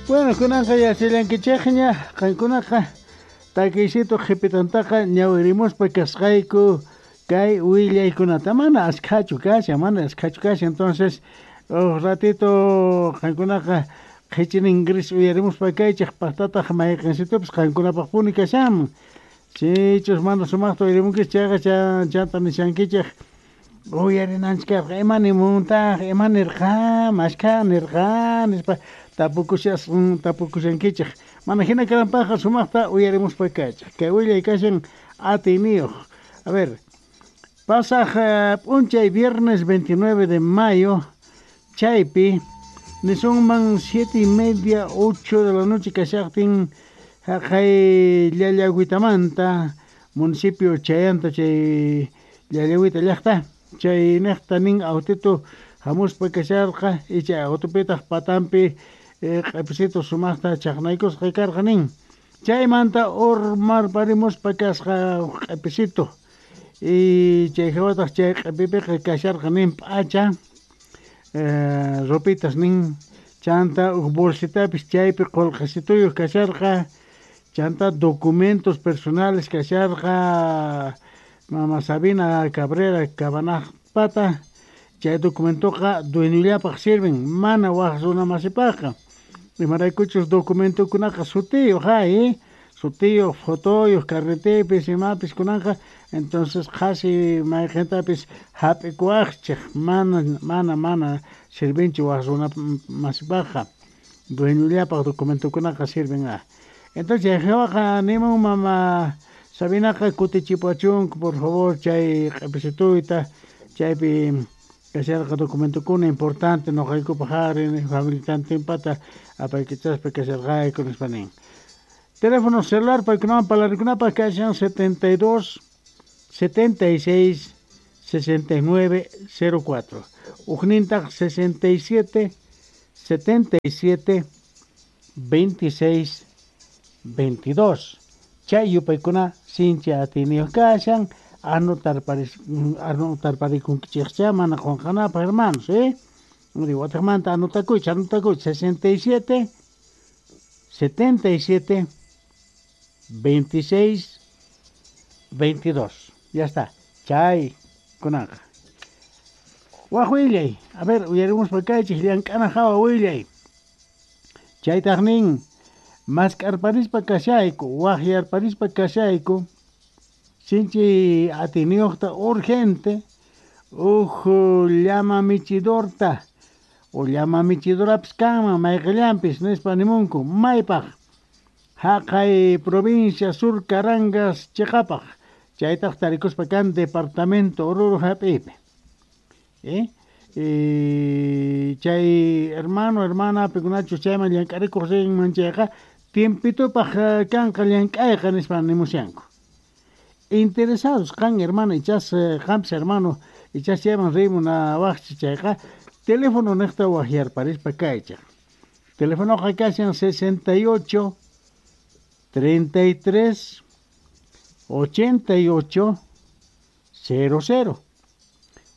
Bueno, kunanqa yachallankichikña, qankunaqa takiysitu qhipitantaqa ñawirimuspa kasqayku kay willaykunata mana askhachu kashan, mana askhachu kashan. Entonces, uj ratito qankunaqa qhichinin gris uyarimuspa kaychik paqtataq mayqinsitupis qankunapaqpuni kashanman. Sichus mana sumaqta uyarimunkichik chayqa chanta nishankichik uyarinanchik karqa ima nimuntaq, ima nirqa, mashkha nirqa nispa tapukushankichik. Mana hina kananpaqqa sumaqta uyarimuspa kaychik. Kay willay kashan atiyniyuq. A ver, pasaq p'unchay viernes 29 de mayo chaypi nisunman 7:30, 8 de la noche kashaqtin haqay Llallagüitamanta municipio Chayanta chay Llallagüita llaqta chay niqta nin autito hamuspa kasharqa y chay autopitaq patampi q'ipisitu sumaqta chaqnaykusqa karqa nin. Chaymanta urmarparimuspa kasqa q'ipisitu y chay hawataq chay q'ipipiqa kasharqa nin p'acha ropitas nin chanta uj bolsitapis chaypi qullqisituyuq kasharqa chanta documentos personales kasharqa mama Sabina Cabrera Cabanajpata chay documentoqa dueñollapaq sirven mana waq runa masipaqqa imaraykuchus documentokunaqa sutiyuq hay sutiyuq fotoyuq carretepis imapis kunanqa entonces qhasi mayqintapis hap'ikuwaqchik mana mana mana sirvinchu waq runa masipaqqa dueñollapaq documentokunaqa sirven a. Entonces chay hawaqa nimun mama Sabinaqa kutichipuwachunku por favor chay q'ipisituyta chaypi kasharqa documentokuna importante nuqaykupaq ari familitantinpata apaykachaspa kasharqayku nispa nin. Teléfono celular paykunawan parlarikunapaq kashan 72 76 69 04. Ujnintaq 67 77 26 22. Chay yupaykuna sinchi atiyniyuq kashan anotarparikunkichikcha mana qunqanapaq hermanos, ¿eh? Wataqmanta anotakuychik, anotakuychik 67 77 26 22. Ya está. Chay kunanqa. Waq willay. A ver, uyarimuspa kaychik llank'ana hawa willay. Chaytaq nin mask'arparispa kashayku, waqyarparispa kashayku, sinchi atiyniyuqta urgente uj llama michidorta o llama michidorapis kanman mayqillanpis nispa nimunku maypaq haqay provincia Sur Carangas chiqapaq chaytaq tarikuspa kan departamento Oruro hap'iypi. Chay hermano, hermana pikunachus chayman llank'arikuq rinman chayqa tiempitupaq kanqa llank'ayqa nispa nimushanku. Interesados qan hermano ichas qampis hermano ichas chayman rimunawaqchik chayqa teléfono niqta waqyarparispa kaychik. Telefonoqa kashan 68 33 88 00.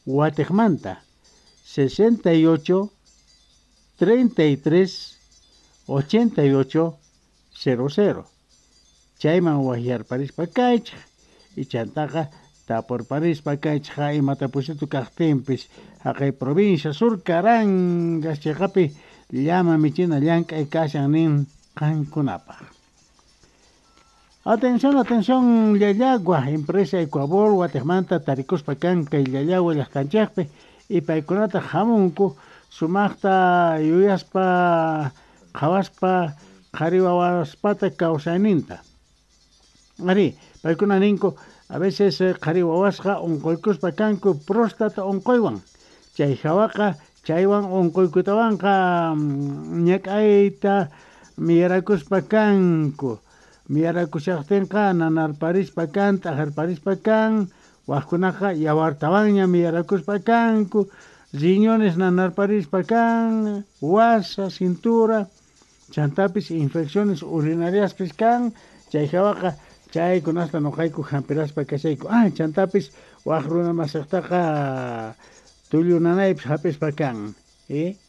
Watiqmanta 68 33 88 00. Chayman waqyarparispa kaychik y chantaqa tapurparispa kaychik imata pusitu kaqtinpis haqay provincia Sur Carangas chiqapi llama michina llank'ay kashan nin qankunapaq. Atención, atención, Llallagua, empresa Ecuabol, watiqmanta tarikuspa kan kay Llallagua llaqtanchikpi y paykunata hamunku sumaqta yuyaspa qhawaspa qhari wawaspata kawsayninta. Ari, paykuna ninku a veces qhari wawasqa unquykuspa kanku próstata unquywan. Chay hawaqa chaywan unquykutawanqa ñak'ayta miyarakuspa kanku. Miyarakushaqtinqa nanarparispa kan, t'ajarparispa kan, waqkunaqa yawartawanña miyarakuspa kanku, riñones nanarparispa kan, wasa, cintura, chantapis infecciones urinariaspis kan, chay hawaqa chaykunasta nuqayku hampiraspa kashayku. Ah, chantapis waq runa masiqtaqa tullu nanaypis hap'ispa kan.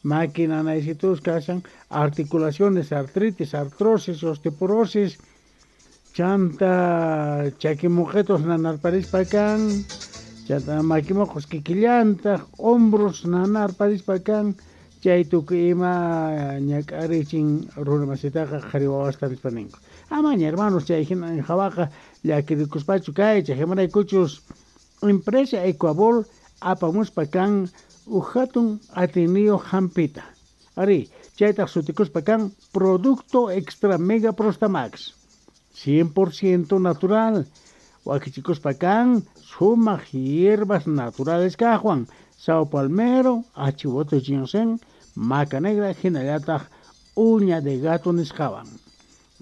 Maki nanaysitus kashan, articulaciones, artritis, artrosis, osteoporosis, chanta chakimuqetos nanarparispa kan, chanta makimuqos kikillantaq, hombros nanarparispa kan, chay tukuy ima ñak'arichin runa masitaqa qhari wawasta nispa ninku. Amaña hermanos chay hina hawaqa llakirikuspachu kaychik, imaraykuchus empresa Ecuabol apamuspa kan uj hatun atiyniyuq hampita. Ari, chaytaq sutikuspa kan producto extra mega prostamax, 100% natural. Wakichikuspa kan sumaq hierbas naturales kaqwan, sao palmero, achivote ginseng, maca negra, hinallataq uña de gato nisqawan.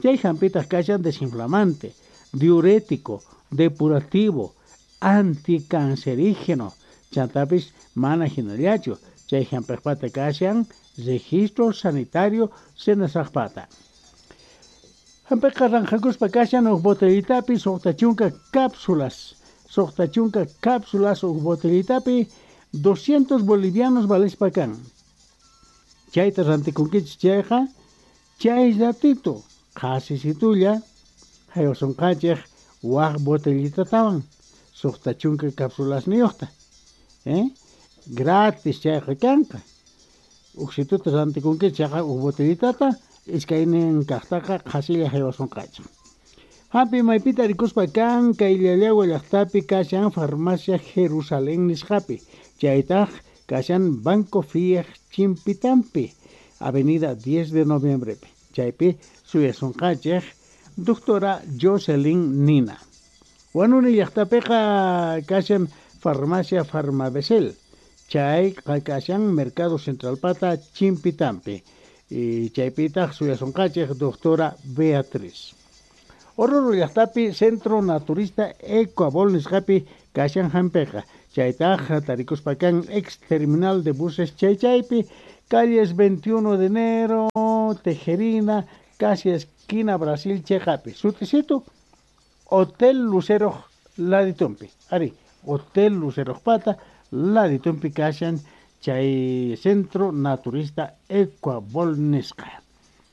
Chay hampitaq kashan desinflamante, diurético, depurativo, anticancerígeno, chantapis mana hinallachu, chay hampiqpata kashan registro sanitario senasaqpata. Hampiqa ranqakuspa kashan huk botellitapi 60 cápsulas, 60 cápsulas huk botellitapi 200 bolivianos valespa kan. Chayta rantikunkichis chayqa, chay ratito qhasisitulla haywasunqanchik waq botellitatawan 60 cápsulasniyuqta. Gratis chayqa kanqa. Uksituta rantikunkichis chayqa huk botellitata iskaynin kaqtaqa qhasilla haywasunqanchik. Hampi maypita rikuspa kan kay Llallagua llaqtapi kashan farmacia Jerusalén nisqapi, chaytaq kashan Banco Fiej Chimpitampi, Avenida 10 de Noviembrepi. Chaypi suyasunqanchik doctora Jocelyn Nina. Huanuni llaqtapiqa kashan farmacia Farmabesel, chay kashan Mercado Central pata Chimpitampi. Y chaypitaq suyasunqanchik doctora Beatriz. Oruro llaqtapi Centro Naturista Ecuabol nisqapi kashan hampiqa, chaytaq tarikuspa kan ex terminal de buses chaychaypi, calles 21 de enero, Tejerina, casi esquina Brasil cheqapi. Sutisito Hotel Lucero laditumpi. Ari, Hotel Lucero pata laditumpi kashan chay Centro Naturista Ecuabol nisqa.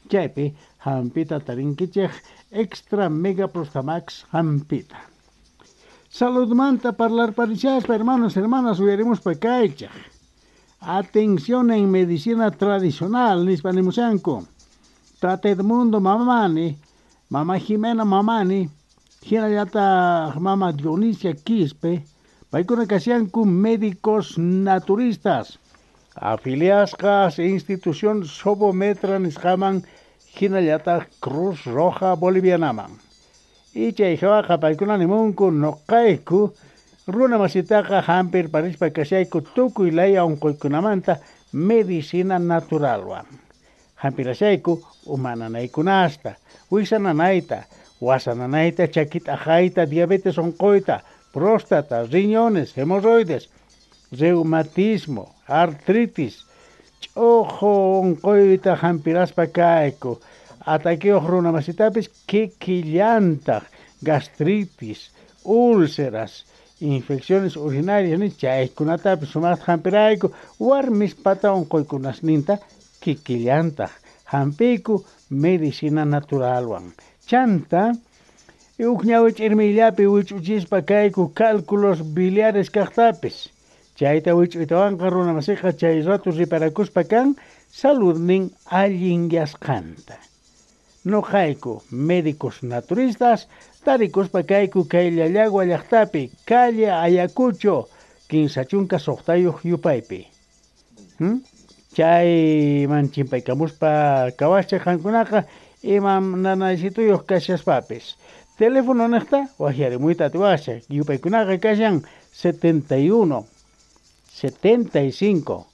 Chaypi hampita tarinkichik extra mega prostamax hampita. Saludmanta parlar parishaspa, hermanos, hermanas, uyarimuspa kaychaq. Atención en medicina tradicional, nispa nimushanku. Tata Edmundo Mamani, Mama Jimena Mamani, hinallataq Mama Dionisia Quispe, paykuna kashanku médicos naturistas, afiliasqas institución Sobometra nisqaman, hinallataq Cruz Roja Bolivianaman. Y chay hawaqa paykuna nimunku nuqayku runa masitaqa hampir parispa kashayku tukuy laya unquykunamanta medicina naturalwan. Hampirashayku umananaykunasta, wiksananayta, wasananayta, chakit'aqayta, diabetes unquyta, próstata, riñones, hemorroides, reumatismo, artritis, ch'uqu unquyta hampiraspa kayku, ataquiyuq runa masitapis kikillantaq, gastritis, úlceras, infecciones urinarias, ni chaykunatapis sumaqta hampirayku, warmispata unquykunasninta kikillantaq hampiyku medicina naturalwan. Chanta huk ñawi ch'irmiyllapi wich'uchispa kayku cálculos biliares kaqtapis. Chayta wich'uytawanqa runa masiqa chay rato riparakuspa kan saludnin allinyasqanta. Nuqayku médicos naturistas tarikuspa kayku kay Llallagua llaqtapi, calle Ayacucho, 56 yupaypi. Chayman chimpaykamuspa kawascha qankunaqa imam nanaysituyuq kashaspapis. Teléfono niqta waqyarimuyta atiwascha, yupaykunaqa kashan 71 75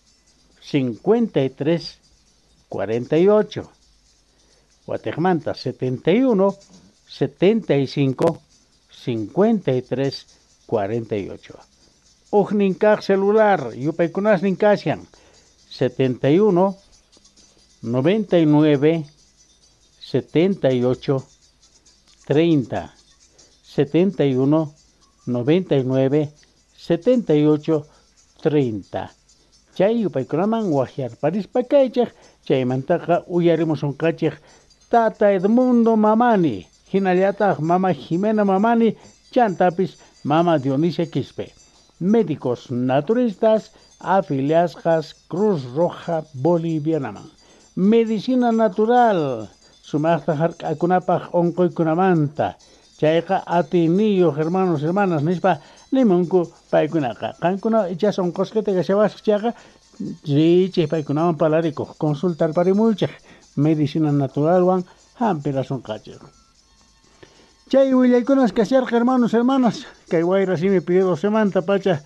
53 48. Watiqmanta 71 75 53 48. Ujnin kaq celular yupaykunasnin kashan 71 99 78 30 71 99 78 30. Chay yupaykunaman waqyarparispa kaychik, chaymantaqa uyarimusunqachik Tata Edmundo Mamani, hinallataq Mama Jimena Mamani, chantapis Mama Dionisia Quispe. Médicos naturistas afiliasqas Cruz Roja Bolivianaman. Medicina natural, sumaqta hark'akunapaq unquykunamanta. Chayqa atiyniyuq hermanos, hermanas nispa nimunku paykunaqa. Qankuna ichas unqusqita kashawasqa chayqa riychik paykunawan parlarikuq, consultarparimuychik medicina naturalwan hampirasunqachik. Chay willaykunas kasharqa hermanos, hermanas, kay wayra simi Pío XII pacha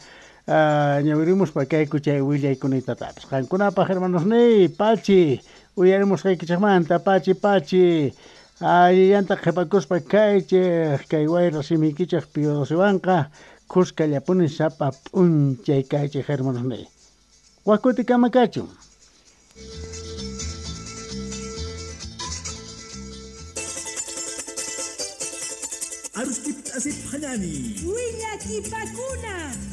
ñawirimuspa kayku chay willaykunitatapas. Qankunapaq hermanos niy, pachi, uyarimusqaykichikmanta, pachi, pachi, allillanta qhipakuspa kaychik, kay wayra simiykichik Pío XII kuskallapuni sapa p'unchay kaychik hermanos niy. Wakutikama kachun. Aruskip asip hanani. Willakipakuna.